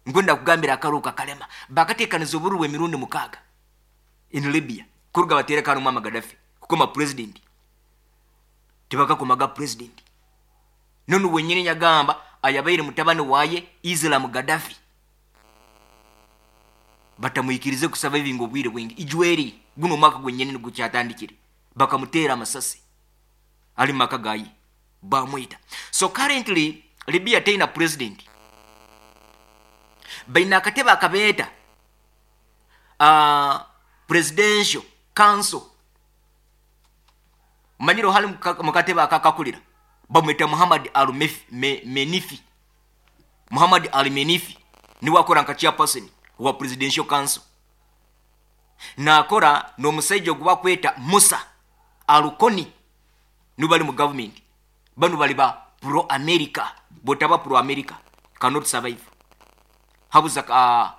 Nkwenda kugambira akaruru kakalema. Bakatekaniza obururu bw'emirundi 6 in Libya kuruga batereka Muammar Gaddafi kukoma president. Tibakakomaga president. Nonu wenyini nyagamba ayabaire mutabani waye Islam Gaddafi batamwikirize kusaba ebingo obwire bwingi. Ijweri guno mwaka gwenyini gukyatandikire bakamutera amasasi ali maka gayi bamwita. So currently Libya teina president, baina akatebe akabeeta presidential council. Manyiro hali mukatebe akakakulira bamwita Muhammad Al-Menifi. Muhammad Al-Menifi niwe akora nka chairperson wa presidential council, nakora n'omusajja ogwa kweta Musa Alukoni, niwe bali mu government. Bano bali ba pro America, botaba pro America cannot survive. Habuza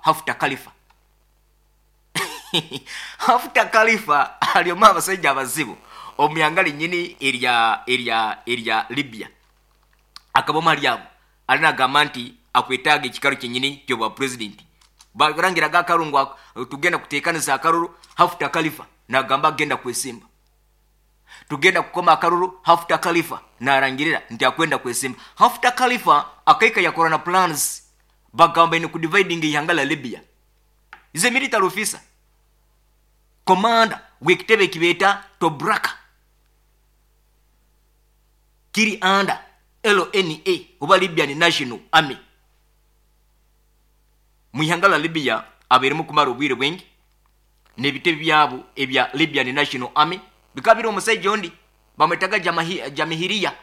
Haftar Khalifa. Haftar Khalifa alioma abasajja abazibu omyangali nyini erya Libya. Akaboma lyabo alina gamba nti akwetaaga ekikalo kyennyini ky'obwa president. Barangiraga akarungu tugenda kuteekaniza akaruru. Haftar Khalifa nagamba agenda kwesimba. Tugenda kukoma akaruru. Haftar Khalifa narangirira nti akwenda kwesimba. Haftar Khalifa akaika yakora na plans bagamba ni kudividing ihanga la Libya. Ize military officer commander w'ekitebe kibeta Tobruk kiri under LNA oba Libyan National Army. Mu ihanga la Libya aberemu kumara obwire bwingi n'ebitebe byabo ebya Libyan National Army bikabira omusajja ondi bamwetaga Jamahiriya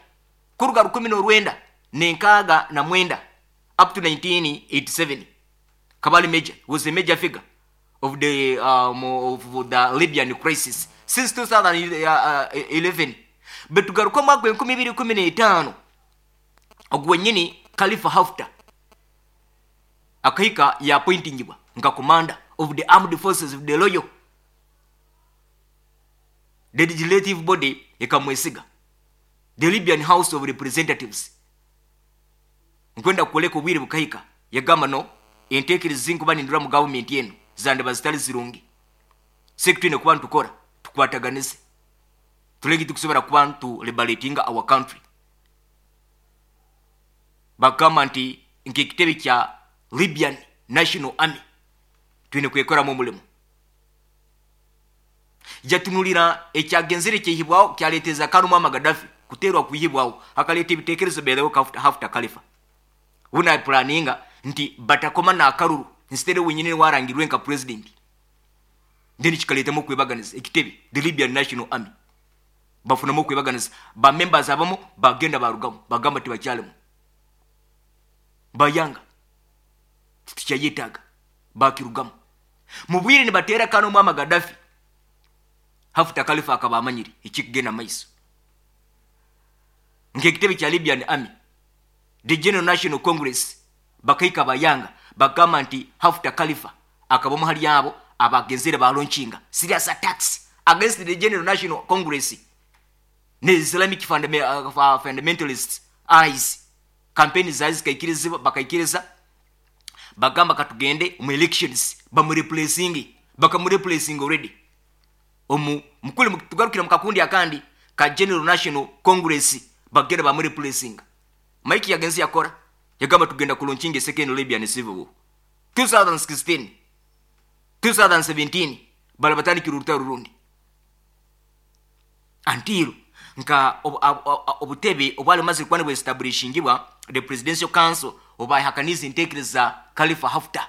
kuruga 1969 up to 1987. Kabali Major was a major figure of the Libyan crisis since 2011. Betugaruka mwaka 2015 ogwo nyini Khalifa Haftar akahika ya appointingibwa nga commander of the armed forces of the loyal the legislative body ekamwesiga the Libyan House of Representatives. Nkwenda kukoleka obwire bukahika yagamba no enteekereza zinkuba nindura mu government eno zandaba zitali zirungi, sekitwine kuba ntukora tukwataganize tulegi tukusobora kuba ntu liberating our country. Bagamba nti nk'ekitebe kya Libyan National Army twine kwekoramu omulimu. Jatunulira ekyagenzere kyehibwaho kyaleteza Muammar Gaddafi kuterwa kuhibwaho akaleta ebitekerezo belewo Haftar Khalifa una planinga nti batakoma na akaruru instead wenyine warangirwe nka president. Then kikaletamu kwebaganiza ekitebe the Libyan National Army bafunamu kwebaganiza ba members abamu bagenda barugamu bagamba tibakyalemu bayanga tikyayetaga bakirugamu mubwire ni batera kano Muammar Gaddafi. Haftar Khalifa akaba amanyiri ekikugenda maiso nk'ekitebe kya Libyan Army the General National Congress bakaika bayanga bagamba nti Haftar Khalifa akaba muhali yabo abagenzere balaunchinga serious attacks against the General National Congress ne Islamic fundamentalists eyes campaign zazi kaikiriza bakaikiriza bagamba katugende mu elections bamureplacing bakamureplacing already omu mukulu tugarukira mukakundi akandi ka General National Congress bagenda bamureplacing. Mike yagenzi yakora yagamba tugenda kulaunchinga second Libyan civil war 2016 2017 bala batandikira urutaro rundi until nka obutebe obwali maze kuba establishingibwa the presidential council obayahakaniza entekereza Khalifa Haftar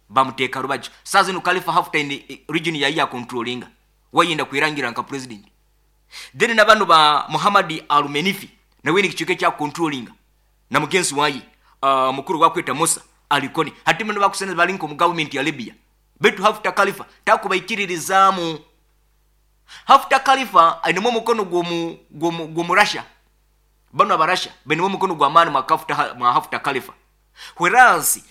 bamuteeka rubaju. Sasa no Khalifa Haftar in region ya ya controllinga wayinda kwirangira nka president. Then nabano ba Muhammad Al-Menifi nawe ni kichike kya controllinga na mugenzi wayi mukuru wakweta Musa Alikoni hatimu no bakusena balinko mu government ya Libya betu Haftar Khalifa takubaikiririzamu. Haftar Khalifa ainemo mukono gwomu Russia bano abarasha benemo mukono gwa mani mwa Haftar Khalifa, whereas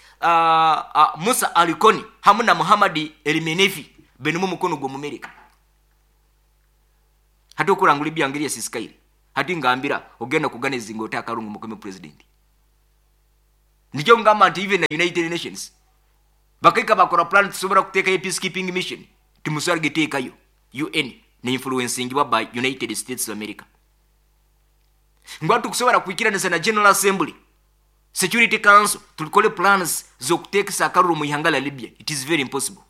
Musa Alikoni hamwe na Muhammad Al-Menifi benemo mukono gwa America. Hati okurangula ebyangiriya sisikaire hati ngambira ogenda kuganiza ngo otakarungu mukome president. Nikyo ngamba nti even na United Nations bakaika bakora plan, tusobora kuteekayo peacekeeping mission, timusobora giteekayo. UN neinfluencingibwa by United States of America. Ngwa tukusobora kwikiranisa na General Assembly, Security Council, tulikole plans zokuteekesa akaruru mu ihanga la Libya. It is very impossible.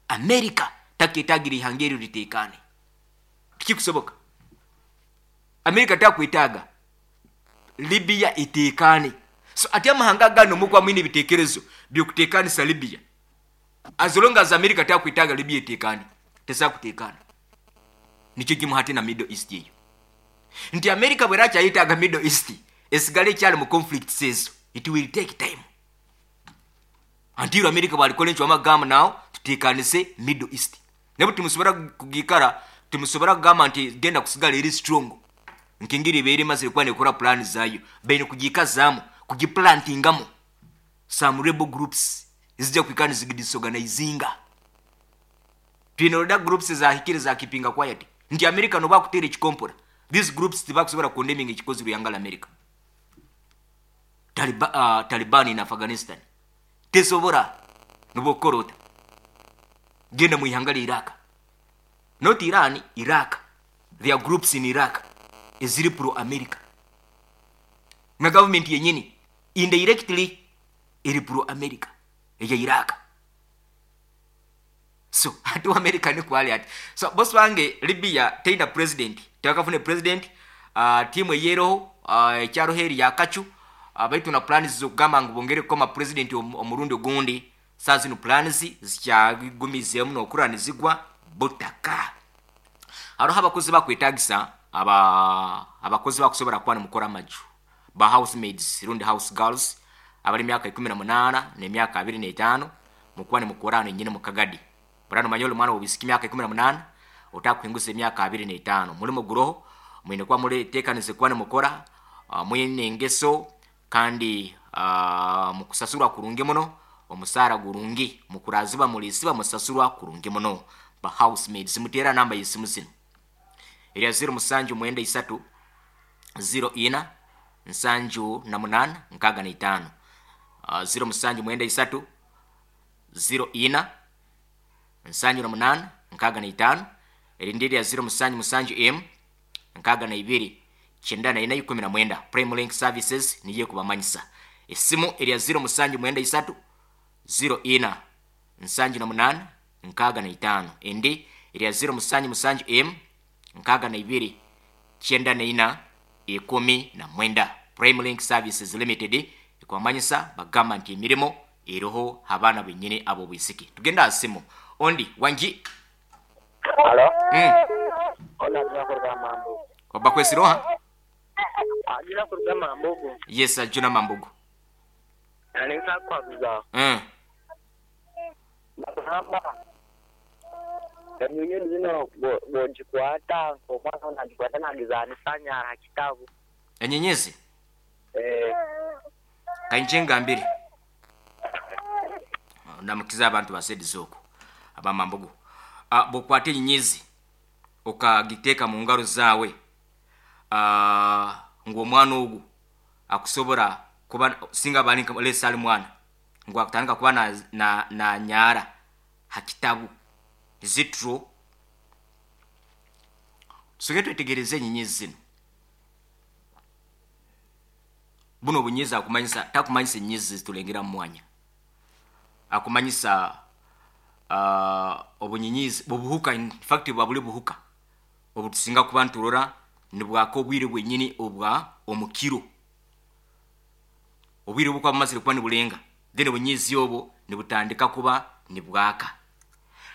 America taketagira ihanga eryo litekane, tikikusoboka. America takwetaaga Libya etekane. So ati amahanga gano mukwa mwine ebitekerezo byokutekanisa Libya, as long as America takwetaaga Libya etekane, tesakutekana. Nikyo kimu hati na Middle East eyo, nti America bwerakyayetaaga Middle East esigale ekyali mu conflicts ezo, it will take time until America bwalikola encwamu agamba, "Nawo tutekanise Middle East." Nabo timusobora kugikara, timusobora kugamba nti genda kusigala eri strong nkengeri ebeere emazire kuba nekora plan zayo. Baine kugikazaamu, kugiplantingamu some rebel groups ezijja kwikara nizidisorganizinga. Twine roda groups ezahikire zakipinga quiet, nti America noba kutera ekikompora, these groups tibakusobora condemning ekikozirwe yangala America. Taliban in Afghanistan tesobora nobokorota. Genda mu ihanga lya Iraq, not Iran, Iraq. There are groups in Iraq eziri pro America, na government yenyini indirectly eri pro America eya Iraq. So ati America nikwali ati. So boss wange, Libya teina president, tewakafune president. Timu eyeroho ekyaro heri yakacu, baitu na plans zokugamba ngu bongere kukoma president omurundi ogundi. Saa zino plans zikyagumizemu nokuranizigwa butaka. Hariho abakozi bakwetagisa, aba abakozi bakusobora kuba nimukora amaju, ba housemaids rundi house girls, abali emyaka 18 n'emyaka 25, mukuba nimukora hano nyine mu Kagadi. Burano manya oli mwana wobisika emyaka 18 otakuhinguza emyaka 25, mulimo guroho, mwine kuba muteekanize kuba nimukora, mwine engeso kandi mukusasurwa kurungi muno, omusaara gurungi, mukuraziba mulisiba musasurwa kurungi muno. Ba housemaids muteera namba y'esimu zino erya 0793 04 78 65, 0793 04 78 65. Erindi erya 077 m 62 94 19. Prime Link Services niye kubamanyisa. Esimu erya 0793 04 78 65, endi erya 077 m 62 94 19. Prime Link Services Limited ekwamanyisa, bagamba nti emirimu eriho abaana benyini abo bwisiki. Tugenda asimu ondi wangi. Halo? Mm. Ona ajira kuruga Mambugu. Obakwesiroha? Ajira kuruga Mambugu. Yes, Ajuna Mambugu. Aninsa kwaguza. Bagamba enyonyi zino bwogikwata, omwana onagikwata nagizanisa nyara kitabu. Enyenyezi? Eh. Kainje ngambire, namukiza abantu basediza okwo abamambugu. Bwokwata enyenyezi okagiteeka mu ngaro zaawe, ngu omwana ogu akusobora kuba singa bali lesa ali mwana ngu akutandika kuba na nyara ha kitabu zitro. Tusoke twetegereze enyenyezi zino. Buno obunyezi akumanyisa, takumanyisa enyenyezi zitulengera mu mwanya, akumanyisa obunyenyezi obuhuka. In fact bwa buli buhuka obutusinga kuba nturora nibwaka obwire bwenyini obwa omukiro, obwire bukuba bumazire kuba nibulenga, then obunyezi obwo nibutandika kuba nibwaka.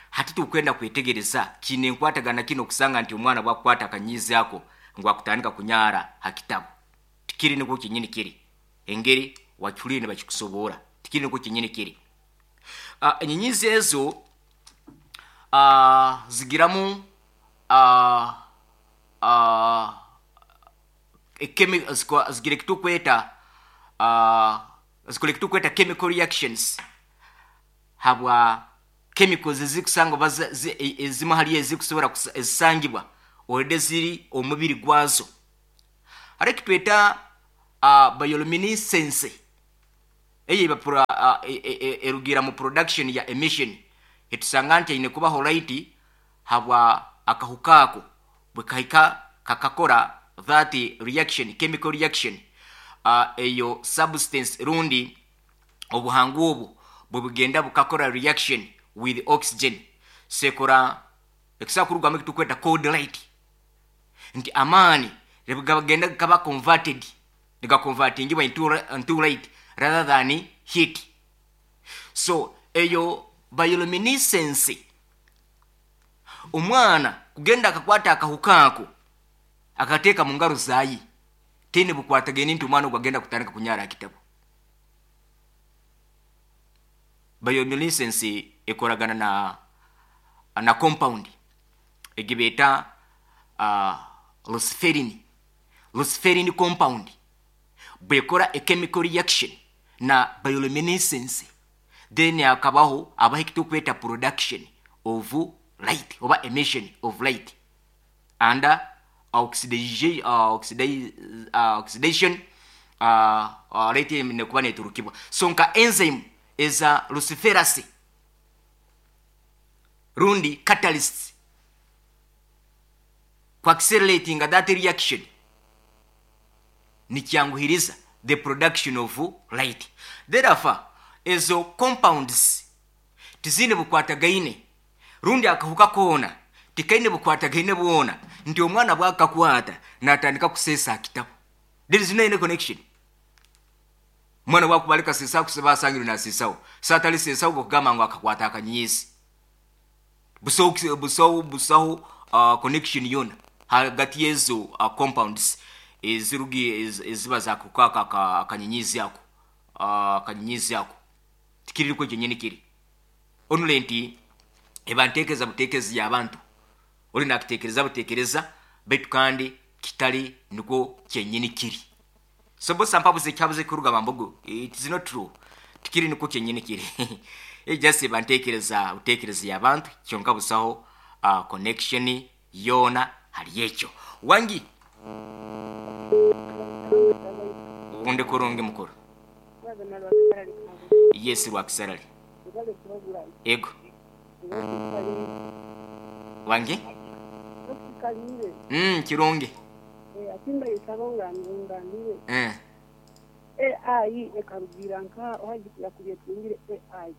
Hati tukwenda kwetegereza kine enkwatagana kino okusanga nti omwana bwakukwata akanyizi ako ngu akutandika kunyara ha kitabu. Tikiri nikwo kyenyini kiri engeri wakihuliire nibakikusoboora, tikiri nikwo kyenyini kiri. Enyenyizi ezo zigiramu zigira ekitukweta, zikora ekitukweta chemical reactions, habwa chemicals ezikusanga oba ezimu hali ezikusobora ezisangibwa already ziri omubiri gwazo. Hariho ekitweta bioluminescence. Eyo erugira mu production ya emission. Etusanga nti aine kubaho light habwa akahuka ako bwekahika kakakora that reaction, chemical reaction. Eyo substance rundi obuhangu obwo bwebugenda bukakora reaction with oxygen, sekora ekisa kurugamu ekitukweta cold light, nti amaani gagenda gaba converted, nigaconvertingibwa into light rather than heat. So eyo bioluminescence, omwana kugenda akakwata akahuka ako akateeka mu ngaro zaye, tene bukwatagene nti omwana ogwo agenda kutandika kunyara akitabo. Bioluminescence ekoragana na compound egibeta luciferin. Luciferin compound bwekora a chemical reaction na bioluminescence, then akabaho abaho ekitukweta production of light oba emission of light and oxidation, light nekuba neturukibwa. So nka enzyme eza luciferase rundi catalyst ku accelerating that reaction nikyanguhiriza the production of light. Therefore ezo compounds tizine bukwatagaine rundi akahuka koona tikaine bukwatagaine bwona nti omwana bwakakwata natandika kusesa akitabo. There is no any connection. Omwana bwakubalika sesa kuseba asangire nasesawo satali sesawo bwokugamba ngu akakwata akanyizi. Busaho, busaho, busaho connection yona hagati yezo compounds ezirugi eziba zakukaka akanyenyizi ako, akanyenyizi ako tikiriko kyenyini kiri onule nti eba ntekereza butekerezi y'abantu oli nakitekereza butekereza baitu kandi kitali niko kyenyini kiri. So bosa mpabuze kyabuze kuruga bambogo, it is not true, tikiri niko kyenyini kiri. Just eba ntekereza butekerezi y'abantu kyonka busaho connection yona hali ekyo. Wangi undi kurungi mukuru. Yes, Rwakisarali. Ego wangi kirungi. Atimba isaba ngandire. AI ekarugira nka ohaji yakubye AI.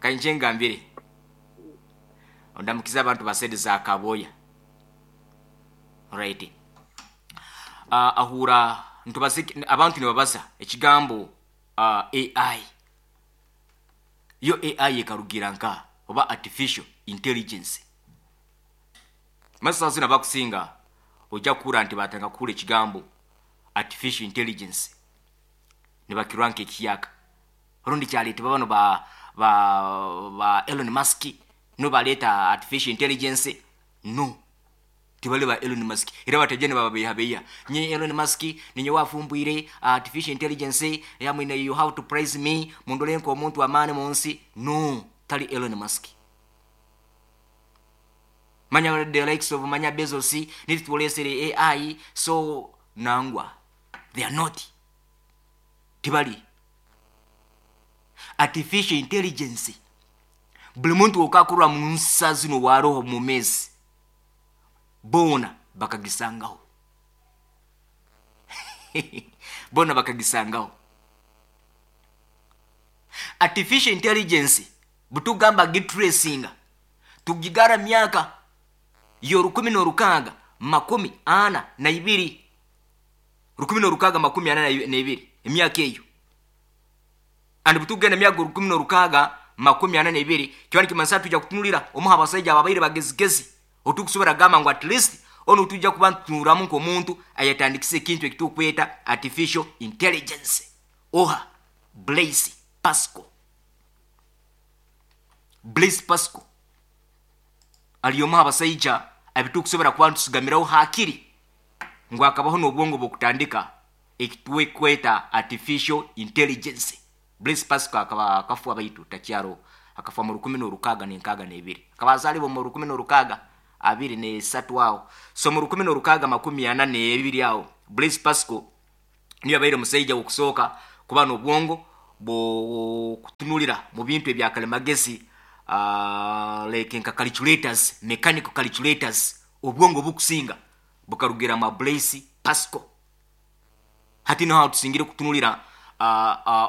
Kanje ngambire ondamukiza abantu basede za kaboya. Right. Ahura ntubaze abantu nibabaza ekigambo AI. Yo AI ekarugira nka oba artificial intelligence. Masasa zina bakusinga ojja kuhura nti batanga kuhura ekigambo artificial intelligence nibakirwa nk'ekiyaka rundi kyaleetebwa bano ba Elon Musk no baleeta artificial intelligence. No tibali ba Elon Musk era batajja ne bababeeyabeeya nye Elon Musk ninye wafumbwire artificial intelligence yamwine, you have to praise me mundole nk'omuntu amaani mu nsi. No, tali Elon Musk. Manya the likes of manya Bezos nitulesere AI. So nangwa they are not, tibali artificial intelligence. Buli muntu okakurwa mu nsa zino waroho mu mezi bona bakagisangaho, bona bakagisangaho artificial intelligence. Butugamba gitracinga tugigara myaka yo 1642, 1642, emyaka eyo. And butugenda emyaka 1642 kiba nikimanyisa tujja kutunulira omuha abasajja ababaire bagezigezi otukusobora gamba ngu at least ono tujja kuba ntutunuramu nk'omuntu ayatandikisa ekintu ekitukweta artificial intelligence. Oha Blaise Pascal. Blaise Pascal ali omuha abasajja abitukusobora kuba ntusigamiraho hakiri ngu akabaho n'obwongo bw'okutandika ekitwekweta artificial intelligence. Blaise Pascal akaba akafwa baitu takyaro, akafwa mu 1662, akaba azaalibwa mu 1623 awo. So mu 1642 awo Blaise Pascal niyo abaire omusajja w'okusooka kuba n'obwongo Bwokutunulira mu bintu ebyakalimagezi, like nka calculators, mechanical calculators, obwongo bukusinga bukarugira mu Blaise Pascal. Hati niho tusingire kutunulira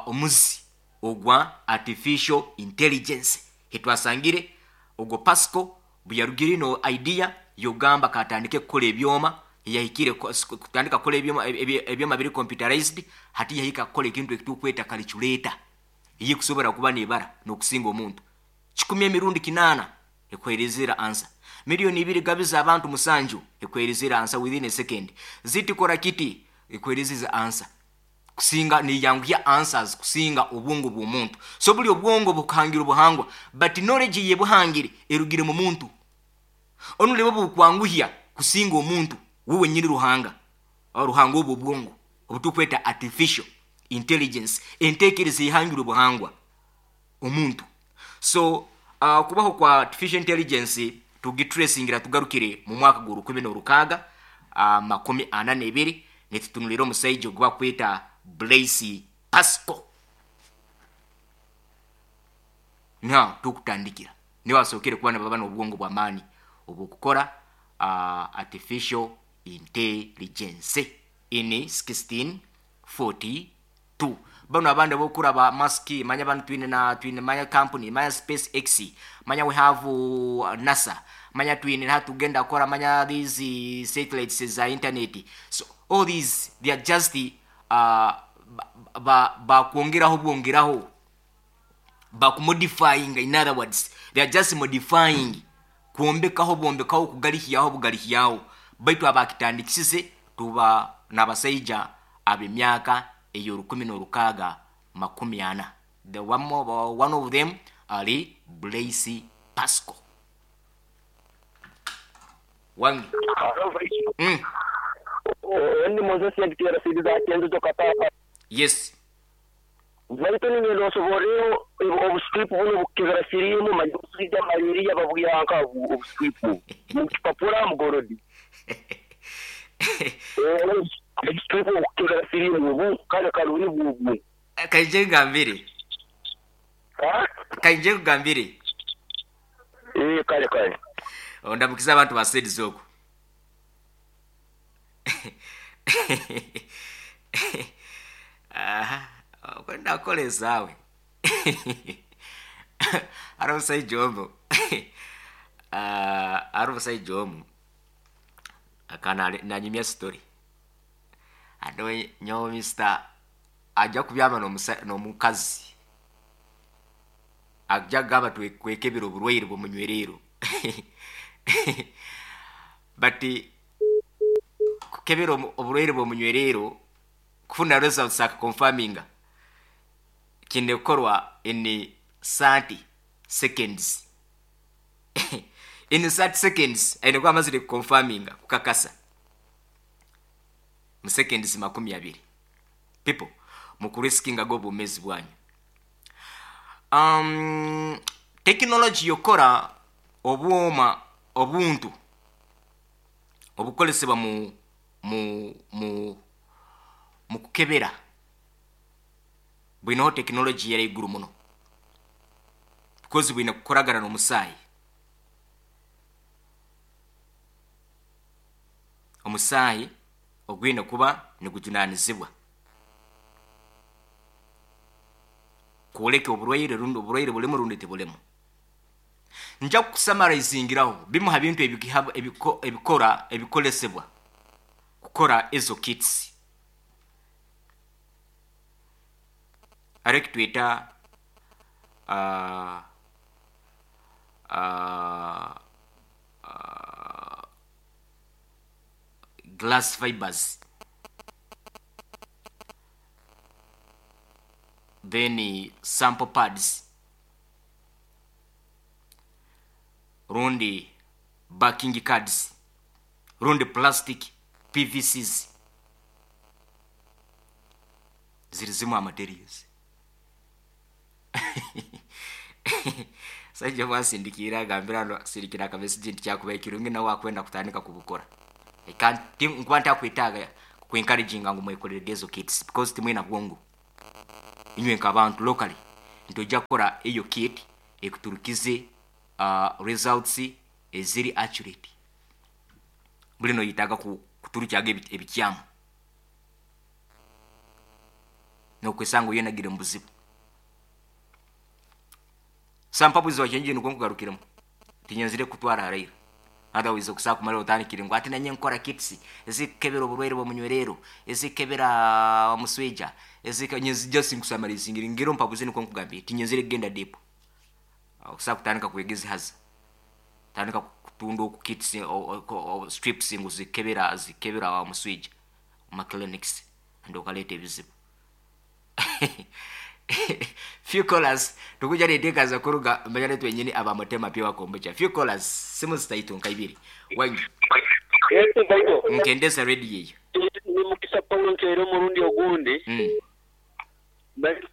omuzi ogwa artificial intelligence. Hetwasangire ogwo Pascal buyarugire ino idea yogamba katandike kukora ebyoma, yahikire kutandika kukora ebyoma, ebyoma biri computerized. Hati yahika kukora ekintu ekitukweta calculator eyekusobora kuba nebara n'okusinga omuntu 100 emirundi 8 ekwerezera answer, 2 million gabiza abantu 7 ekwerezera answer within a second, zitikora kiti ekwerezeza answer kusinga niyanguya answers kusinga obwongo bw'omuntu. So buli obwongo bukuhangira obuhangwa, but knowledge ye buhangire erugire mu muntu. Onuleba bukwanguhya kusinga omuntu wewe nyini Ruhanga, Ruhanga obwo obwongo obutukweta artificial intelligence, entekereza ihangire obuhangwa omuntu. So kubaho kwa artificial intelligence tugitracingira tugarukire mu mwaka gwa 1642, nitutunulira omusaija ogwa kweta Blaise Pascal. Niho tukutandikira, niho asookere kuba nababa n'obwongo bw'amaani obwokukora artificial intelligence in 1642. Bano abandi abokuraba Musk, manya bano twine na twine manya company, manya Space X, manya we have NASA, manya twine hatugenda kukora manya these satellites za internet. So all these, they are just bakwongeraho bwongeraho, bakumodifying. In other words, they are just modifying, kwombekaho bwombekaho, kugalihyaho bugalihyaho. Baitu abakitandikisize tuba n'abasaija ab'emyaka ey'o 1640. The one, more, one of them ali Blaise Pascal wange. Ndi Moses yagitera sidi za Kenzo Katapa. Yes. Baitu ningenda osoboreyo obustrip buno bukebera sirimu, manyi malaria, babwihanka obustrip mukipapura mugorodi, obustrip obukebera sirimu obu kale kaluni bubwo. Kaije ngambire. Kaije kugambire. Eh, kale kale. Ondamukiza abantu ba sedi okwo. Aha, kwenda kukola ezaawe. Ari omushaija omu, ari omushaija omu akana nanyumya story ate nyowe mister ajja kubyama n'omukazi, ajja kugamba twekebera oburwaire bw'omunywerero, but kukebera oburwaire bw'omunywerero kufuna results akaconfirminga kine kukorwa in 30 seconds. In 30 seconds aine kuba amazire kuconfirminga, kukakasa mu seconds 20. People, mukuriskinga obumezi bwanyu. Technology yokora obwoma, obuntu obukolesebwa mu kukebera bwinaho technology yari iguru muno, because bwine kukoragana n'omusaayi. Omusaayi ogwine kuba nigujunanizibwa kwoleka oburwaire rundi oburwaire bulimu rundi tibulemu. Nja kusummarizingira bimu ha bintu ebikora ebikolesebwa kukora ezo kits. Areki tweta glass fibers, then sample pads rundi backing cards rundi plastic PVCs, ziri zimu materials. Saija bwasindikira agambira no sindikira akamessage nti kyakuba ekirungi nawe akwenda kutandika kubukora. I can't, nkuba ntakwetaaga ku encouraginga ngu mwekolere ezo kits because timwina bwongo. Inywe nk'abantu locally ntojja kukora eyo kit ekuturukize results eziri accurate. Buli noyetaaga kuturukyaga ebikyamu nokwesanga oyenagire mu buzibu. Sampabuzi wakyenje nukwo nkugarukiremu, tinyenzire kutwara haraira. Otherwise okusaa kumara otandikire ngu ati nanye nkora kits ezikukebera oburwaire bw'omunywerero, ezikukebera omuswija, just nkusamarizingira ngiro mpabuzi nukwo nkugambire, tinyenzire kugenda deep. Okusaa kutandika kwegezihaza, tandika kutunda oku kits strips ngu zikebera omuswija mu clinics, and okaleeta ebizibu. Few callers tukuja neteekaza kuruga mbanyane twenyini aba Mutema Pure Kombucha. Few callers, simu zitaitu nka ibiri. Wangi. Nkendeza radio eyo. Ni Mukisa Paulo nkeire omurundi ogundi. Mbaire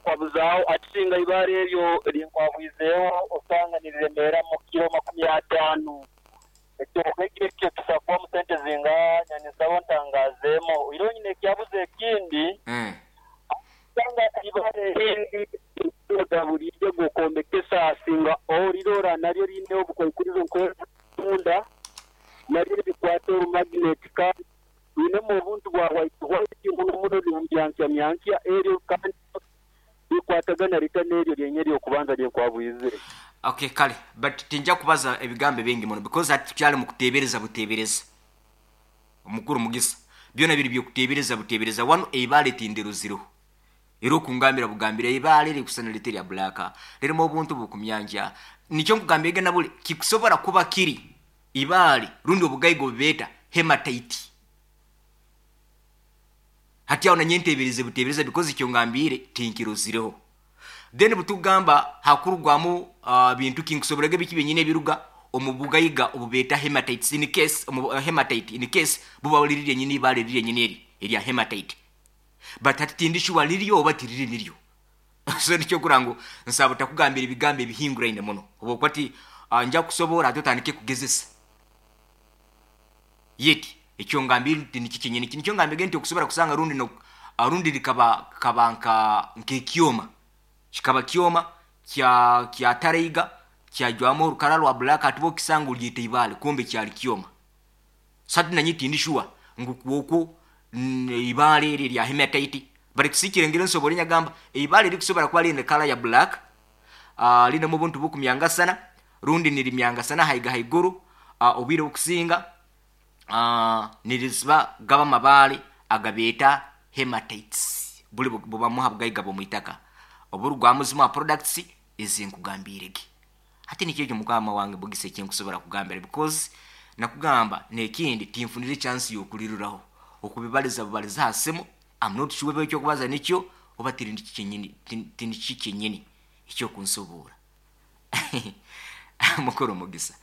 kwabuzaaho ati singa eibaale eryo lye nkwabwizeeho osanga niriremeera mu kiro 50. Ekyo ekyo kisobola kubamu sente zingaha? Nyaninsaba ontangaazeemu. Oihireho nyine ekyabuzo ekindi, osanga eibaale erindi oga buriijo g'okwombekesa singa orirora naryo riine obukwikurizo nk'obw'etunda, naryo nirikwata orumagineti kandi riinemu obuntu bwa hwaiti hwaiti muno muno nibumyankyamyankya eryo kandi rikwatagana rita n'eryo ryenye ery'okubanza rye nkwabwizire? Okay, kale, but tinja kubaza ebigambo ebingi muno because hati tukyali mu kuteebereza buteebereza. Omukuru Mugisa, byona biri by'okuteebereza buteebereza. Wanu eibaale tindiruzireho. Era okungambira bugambira eibaale rikusana riti erya black, ririmu obuntu bukumyankya. Nikyo nkugambire na buli kikusobora kuba kiri ibaale rundi obugaiga obubeeta hematite. Hati aho nanye nteebereze buteebereza because ekyo ngambiire tinkirozireho. Then butugamba hakurugwamu bintu ki, nkusoboraga biki byenyini ebiruga omu bugaiga obubeeta hematites in case, omu hematite in case buba riri ryenyini ibaale riri ryenyini eri erya hematite. But hati tindi sure riryo oba tiriri niryo. So nikyo okura ngu nsaba otakugambira ebigambo ebihinguraine muno. Habwokuba ti nja kukusoborra hati otandike kugezesa. Yet ekyo ngambire nti nikyo kyenyini. Nikyo ngambire nti okusobora kusanga rundi no rundi rikaba kaba nka nk'ekyoma. Kikaba kyoma kya kyataraiga kyajwamu orukara rwa black hati bwokisanga oryeta ibaale kumbe kyali kyoma. So hati nanye tindi sure ngu kwokwo eibaale eri erya hematite but tisikirengire nsobore nyagamba eibaale erikusobora kuba riine color ya black, rinemu obuntu bukumyangasana rundi nirimyangasana haiga haiguru, obwire obukusinga niriziba gaba amabaale agabeeta hematites, buri bubamu ha bugaiga bw'omu itaka oburugwamu zimu ha products ezinkugambiire ge. Hati nikyo ekyo mukama wange Mugisa ekinkusobora kugambira because nakugamba n'ekindi tinfunire chance y'okuriruraho okubibaliza bubaliza ha simu. I'm not sure oba ekyokubaza nikyo oba tiri kyenyini, tiniki kyenyini ekyokunsoboora. Mukuru Mugisa.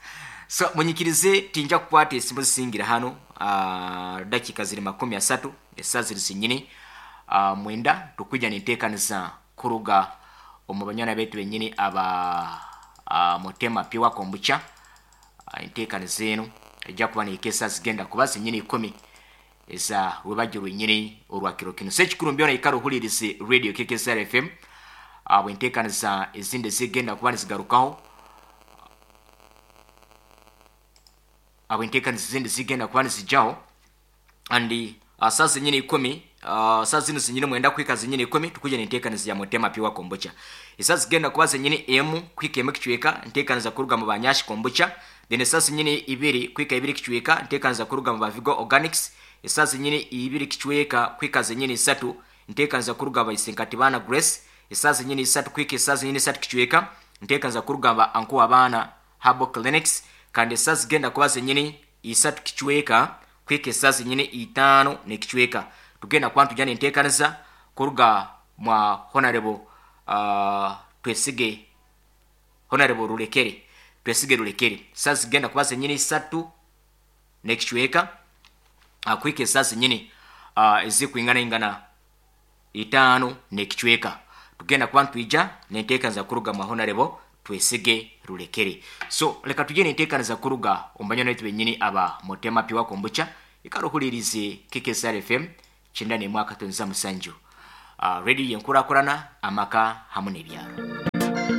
So munyikirize tinja kukwata esimu zisingira hano, dakiika ziri 30 esaa ziri zinyini 9, tukwija ninteekaniza kuruga omu banywana baitu benyini aba Mutema Pure Kombucha. Enteekaniza enu ejja kuba nehika esaa zigenda kuba zinyini 10 eza rwebagyo rwenyini orwa kiro kinu. So ekikuru mbyona ikara ohulirize radio KKSR FM bwenteekaniza ezindi zigenda kuba nizigarukaho, abwenteekaniza ezindi zigenda kuba nizijaho and saa zinyini 10, saa zinu zinyini 9 kuhika zinyini 10 tukuja nenteekaniza ya Mutema Pure Kombucha. Esaa zigenda kuba zinyini 1 kuhika 1 kicweka nteekaniza kuruga mu Banyashi Kombucha. Then esaa zinyini 2 kuhika 2 kicweka nteekaniza kuruga mu Bavigo Organics. Esaa zinyini 2 kicweka kuhika zinyini 3 nteekaniza kuruga Baisenkati Baana Grace. Esaa zinyini 3 kuhika esaa zinyini 3 kicweka nteekaniza kuruga ba Ankuwa Abaana Herbal Clinics. Kandi esaa zigenda kuba zinyini 3 kicweka kuhika esaa zinyini 5 n'ekicweka tugenda kuba nitujya nenteekaniza kuruga mwa Honorable Twesige, Honorable Rulekere, Twesige Rulekere. Saa zigenda kuba zinyini 3 n'ekicweka kuhika esaa zinyini ezikwinganaingana 5 n'ekicweka tugenda kuba nitwija nenteekaniza kuruga mwa Honorable Twesige Rulekere. So leka tujye nenteekaniza kuruga omu banywana baitu benyini aba Mutema Pure Kombucha. Ikara ohulirize KKSR FM 91.7. Radio yenkurakurana amaka hamu n'ebyaro.